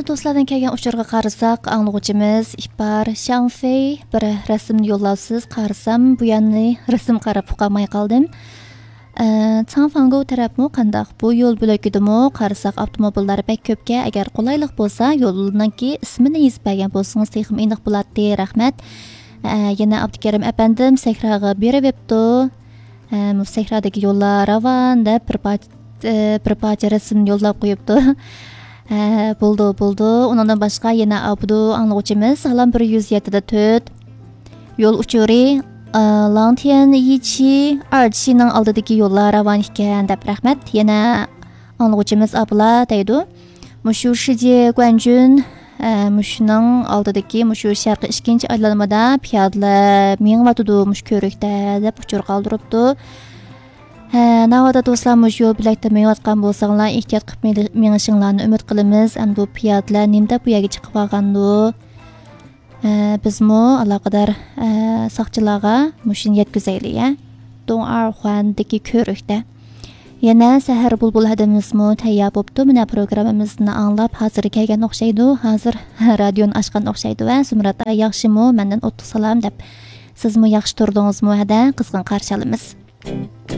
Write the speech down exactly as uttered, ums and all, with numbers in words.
دوستلاردىن كەلگەن ئۇچۇرغا قارىساق، ئاڭلىغۇچىمىز ئىپار شاڭفېي بىر رەسىمنى يوللاپسىز، قارىسام بۇ يەرنى رەسىم قاراپ ئۇقالماي قالدىم. ئە، چاڭفاڭگو تەرەپمۇ قانداق؟ بۇ يول بۆلىكىدىمۇ قارىساق ئاپتوموبىللار بەك كۆپكەن. ئەگەر قولايلىق بولسا يولنىڭكى ئىسمىنى يېزىپ بەرگەن بولسىڭىز تېخىمۇ ئېنىق بولاتتى. رەھمەت. ئە، يەنە ئابدۇكېرىم ئەپەندىم سەھراغا بېرىۋېپتۇ. ئە، مۇ سەھرادىكى يوللار راۋان دەپ بىر پارچە، ئە، بىر پارچە رەسىمنى يوللاپ قويۇپتۇ. ئە، بولدى، بولدى. ئۇنىڭدىن باشقا يەنە ئابدۇ ئاڭلىغۇچىمىز سالام بىر يۈز يەتتە دە تۆت. يول ئۇچۇرى، ئە، لاڭتيەن يىچى ئارچىنىڭ ئالدىدىكى يوللار راۋان ئىكەن دەپ رەھمەت. يەنە ئاڭلىغۇچىمىز ئابلا دەيدۇ. مۇشۇ شىجى گۇەنجۈن، ئە، مۇشۇنىڭ ئالدىدىكى مۇشۇ شەرقىي ئىككىنچى ئايلانمىدا پىيادىلەر مېڭىۋاتىدۇ مۇشۇ كۆۋرۈكتە دەپ ئۇچۇر قالدۇرۇپتۇ. ھە، ناۋادا دوستلار مۇشۇ يول بۆلەكتە مېڭىۋاتقان بولساڭلار، ئېھتىيات قىلىپ مېلى-، مېڭىشىڭلارنى ئۈمىد قىلىمىز. ئەمدى بۇ پىيادىلەر نېمىدەپ بۇ يەرگە چىقىپ قالغاندۇ؟ ئە، بىزمۇ ئالاقىدار، ئە، ساقچىلارغا مۇشۇنى يەتكۈزەيلى، يە. دوڭئارخۇەندىكى كۆۋرۈكتە. يەنە سەھەر بۇلبۇل ھەدىمىزمۇ تەييار بوپتۇ. مانا پروگراممىمىزنى ئاڭلاپ ھازىر كەلگەن ئوخشايدۇ. ھازىر رادىيونى ئاچقان ئوخشايدۇ ۋە زۇمرەت ئاي ياخشىمۇ؟ مەندىن ئوتلۇق سالام دەپ. سىزمۇ ياخشى تۇردىڭىزمۇ؟ ھەدە، قىزغىن قارشى ئالىمىز.